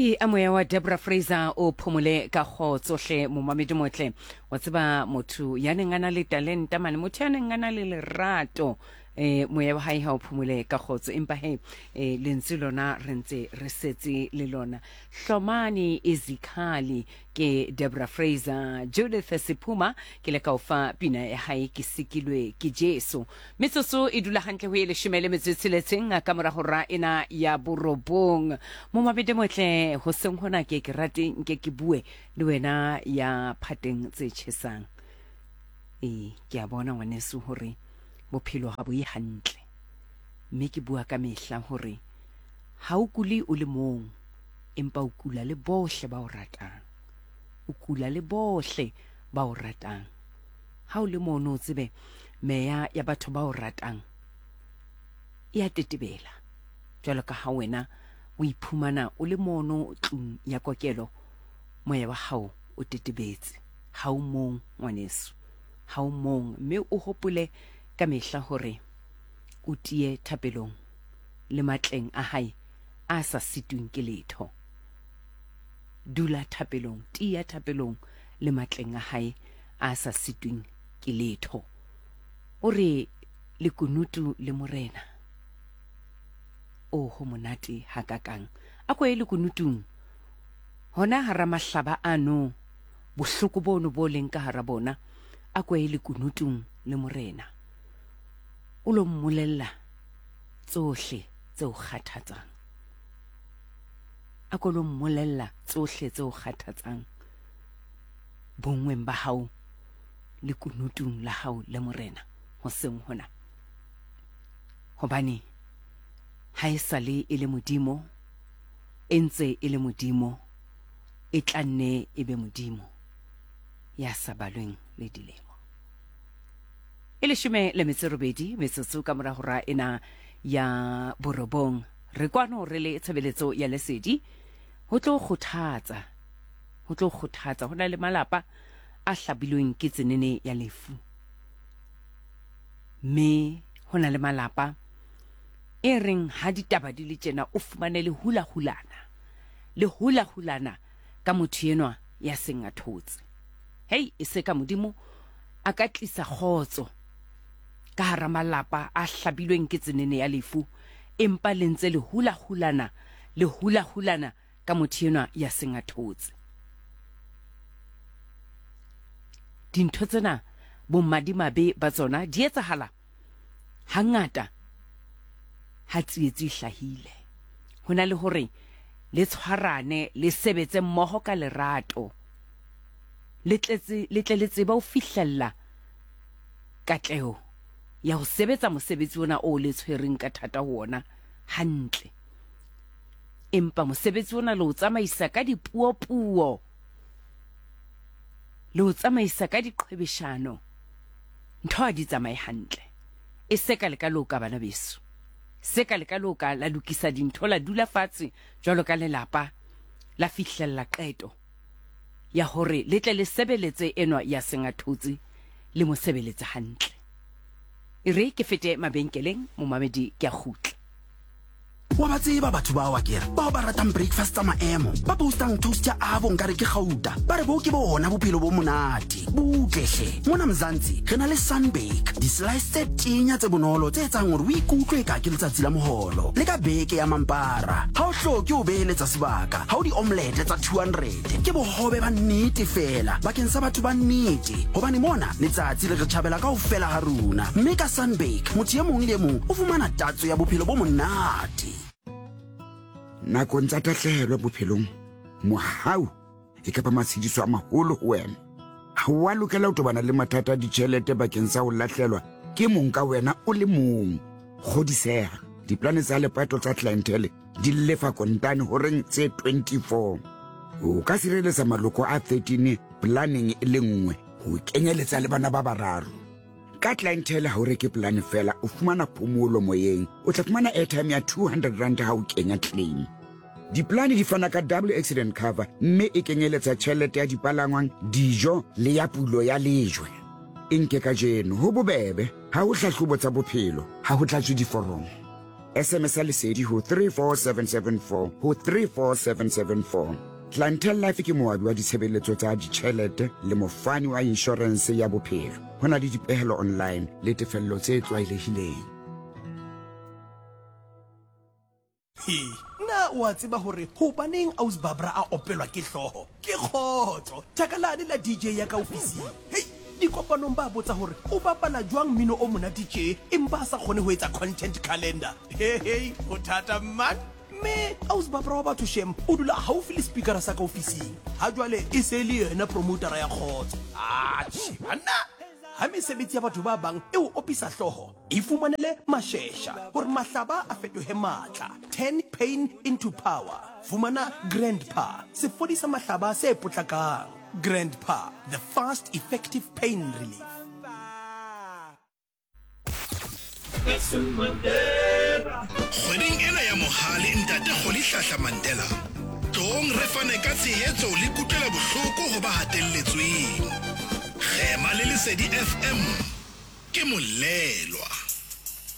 Hei, a moya wa Debra Fraser o phomole ka kgotso hle momamedi motle. Wa tseba motho ya neng a na le talenta mane, motho ya neng a na le lerato, eh moya wa hae ha o phomole ka kgotso. Empa he, eh lentswe lona re ntse re setse le lona. Hlomani Izikhali ke Debra Fraser, Judith Sephuma ke le ka o fa pina ya hae ke sikilwe ke Jesu. Metsotso e dula hantle ho e leshome le metso e tsheletseng ka mora hora ena ya borobong. Momamedi motle, hoseng hona ke ke rate nke ke bue le wena ya phateng tse tjhesang. Ee, ke a bona ngwaneso hore bophelo ha bo ye hantle. Mme ke bua ka mehla hore ha o kule o le mong, empa o kula le bohle ba o ratang. O kula le bohle ba o ratang. Ha o le mono o tsebe meya ya batho ba o ratang e a tetebela. Jwalo ka ha wena o iphumana o le mono tlung ya kokelo, moya wa hao o tetebetse. Ha o mong ngwaneso, ha o mong, mme o hopole ka mehla hore o tiye thapelong le matleng a hae a sa sitweng ke letho. Dula thapelong, tiya thapelong le matleng a hae a sa sitweng ke letho. O re lekunutu le Morena. O ho monate hakakang. A ko ye lekunutung. Hona hara mahlaba ano, bohloko bono bo leng ka hara bona, a ko ye lekunutung le Morena. O lo mmolella tsohle tse o kgathatsang. A ko lo mmolella tsohle tse o kgathatsang bonngweng ba hao le kunutung la hao le Morena hoseng hona. Hobane ha e sa le e le Modimo, e ntse e le Modimo, e tla nne e be Modimo ya sa balweng le dilemo. E leshome le metso e robedi metsotso ka mora hora ena ya borobong. Re kwano re le tshebeletso ya lesedi ho tlo kgothatsa, ho tlo kgothatsa. Ho na le malapa a hlabilweng ke tsenene ya lefu, mme ho na le malapa e reng ha ditaba di le tjena o fumane le hula-hulana, le hula-hulana ka motho enwa ya seng a thotse. Hei, e se ka Modimo a ka tlisa kgotso ka hara malapa a hlabilweng ke tsenene ya lefu, empa le ntse le hula-hulana, le hula-hulana ka motho enwa ya seng a thotse. Dintho tsena bomadimabe ba tsona di etsahala hangata ha tsietsi e hlahile. Ho na le hore le tshwarane, le sebetse mmoho ka lerato, le tletse, le tle le tsebe ho fihlella katleho ya ho sebetsa mosebetsi ona o le tshwereng ka thata ho ona hantle. Empa mosebetsi ona le o tsamaisa ka dipuopuo, le o tsamaisa ka diqhwebeshano, ntho ha di tsamaye hantle. E se ka le ka loka, bana beso. Se ka le ka loka, la lokisa dintho, la dula fatshe jwalo ka lelapa, la fihlella qeto ya hore le tle le sebeletse enwa ya seng a thotse, le mo sebeletse hantle. E re ke fete mabenkeleng, momamedi, ke a kgutla. Wa ba tseba batho bao akere, bao ba ratang breakfast tsa maemo, ba postang toast ya avo nkare ke gauta, ba re bo ke bona bophelo bo monate. Butle hle, mona Mzansi re na le Sunbake, di-slice tse tenya tse bonolo tse etsang hore o ikutlwe eka ke letsatsi la moholo. Le ka beke ya mampara, ha o hloke ho beheletsa sebaka, ha o di-omelette tsa 200. Ke bohobe ba nnete feela bakeng sa batho ba nnete, hobane mona letsatsi le re tjhabela kaofela ha rona, mme ka Sunbake motho e mong le e mong o fumana tatso ya bophelo bo monate. Nakong tsa tahlehelo bophelong, mohau e ka ba matshediso a maholo ho wena. Ha o a lokela ho tobana le mathata a ditjhelete bakeng sa ho lahlelwa ke mong ka wena o le mong. Kgodiseha, diplane tsa lepato tsa Clientele di lefa kontane horeng tse 24. O ka sireletsa maloko a 13 planeng e le nngwe, ho kenyeletsa le bana ba bararo. Ka Clientele ha o reke polane fela, o fumana phomolo moyeng. O tla fumana airtime ya 200 rand ha o kenya claim. Diplane di fana ka double accident cover mme e kenyeletsa tjhelete ya dipalangwang, dijo le ya pulo ya lejwe. E nke kajeno, ho bobebe, ha ho hlahlobo tsa bophelo, ha ho tlatswe diforomo. SMS Lesedi ho 34774 ho 34774. Clientele Life ke moabi wa ditshebeletso tsa ditjhelete le mofani wa inshorense ya bophelo. Ho na le dipehelo online le tefello tse tlwaelehileng. He, na o a tseba hore hobaneng Aus Barbara a opelwa ke hlooho? Ke kgotso, thaka lane la DJ ya ka ofising. Hei, dikopanong ba botsa hore o bapala jwang mmino o monate tje empa a sa kgone ho etsa content calendar. He hei, ho thata man. Mme Aus Barbara wa batho shem o dula haufi le speakera sa ka ofising. Ha jwale e se e le yena promotera ya kgotso. Atjhe banna, ha mesebetsi ya batho ba bang e o opisa hlooho, Ifumanele mashesha hore mahlaba a fetohe matla. Turn pain into power. Fumana Grandpa, sefodisa mahlaba se potlakang. Grandpa, the fast, effective pain relief. Kgweding ena ya Mohale Ntate Rholihlahla Mandela, tloong re fane ka tshehetso le kutlwelobohloko ho ba hatelletsweng. Kgema le Lesedi FM. Ke molelwa.